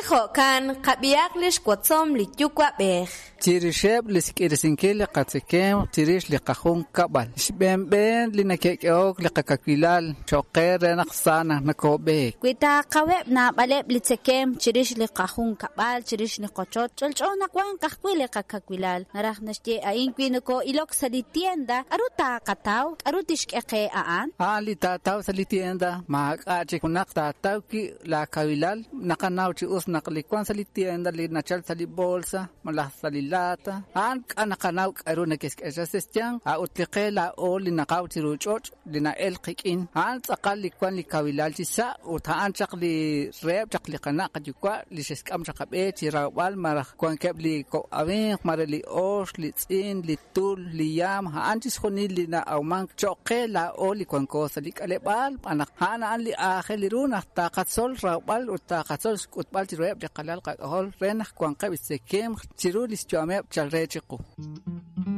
jo'kan, qab'ihaq li xwotzom li yuwa'b'ej. Chirixeb' li xk'irisinkil li qatzekemq chirix li qajunkab'al. Xb'een li neke'k'ehok li qakawilal cho'q qe re naq sa naq nakoob'eek. Wi taaqaweb' naab'aleb' li tzekemq chirix li qajunkab'al, chirix li qochoch, ch'olch'o naq wanq ajwi' li qakawilal. Naraj naxye a'in wi nokoo'ilok sa' li tienda, k'aru taaqataw? K'aru tixk'e qe a'an? A'an li taataw sa' li tienda, maak'a' chik junaq taataw wi' laakawilal. Naqanaw chi us naq li wank sa' li tienda li nachalk sa' li bolsa malaj sa' li lata, a'an k'a' naqanaw k'aru neke'xk'e sa' xyanq, a'ut li qe laa'o li naqaw chiru ch'och' li na'elk qik'in, a'an tz'aqal li wank li kawilal chi sa' ut a'an chaq li reheb' chaq li qana' qayuwa' li xe'xk'am chaq qab'e chi rawb'al malaj wankeb' li kok' awimq, mare li ox, li tz'in, li tul, li yaam, a'an chixjunil li na'awmank cho'q qe laa'o li wanko sa' li k'aleb'aal, xb'aan naq a'an a'an li aajel ru naq taqatzol rawb'al ut taqatzol xk'utb'al chiruheb' li qalal qak'ajol re naq wanqeb' xtzekemq chiru li xyu'ameb' chal re chiqu.